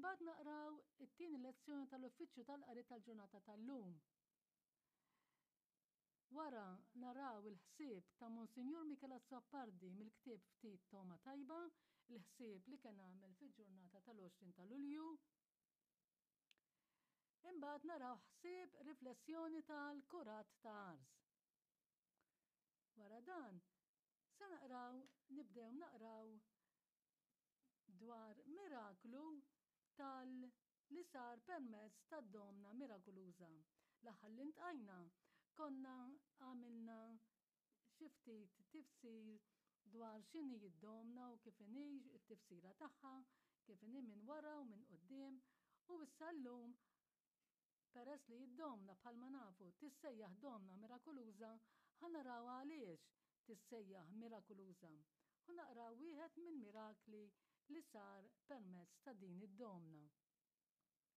Imbagħad naqraw it-tieni lezzjoni tal-Uffiċċju tal-Qari tal-ġurnata tal-lum. Wara naraw il-ħsieb ta' Monsinjur Michel Azzopardi mill-ktieb Ftit Togħma Tajba, il-ħsieb li kien għamel fil-ġurnata tal-20 ta' Lulju. Imbagħad naraw ħsieb riflessjoni tal-Kurat ta' Ars. Wara dan, se naqraw nibdew naqraw dwar miraklu tal li sar permezz tad-Domna Mirakuluża. L-aħħar li ntqajna konna għamilna xi ftit tifsir dwar x'inhi d-Domna u kif inhi t-tifsira tagħha, kif inhi minn wara u minn quddiem u issa llum Peress li d-Domna bħalma nafu tissejjaħ Domna Mirakuluża, ħa naraw għaliex tissejjaħ mirakuluża u naqraw wieħed mill-mirakli li sar permezz ta' din id-Domna.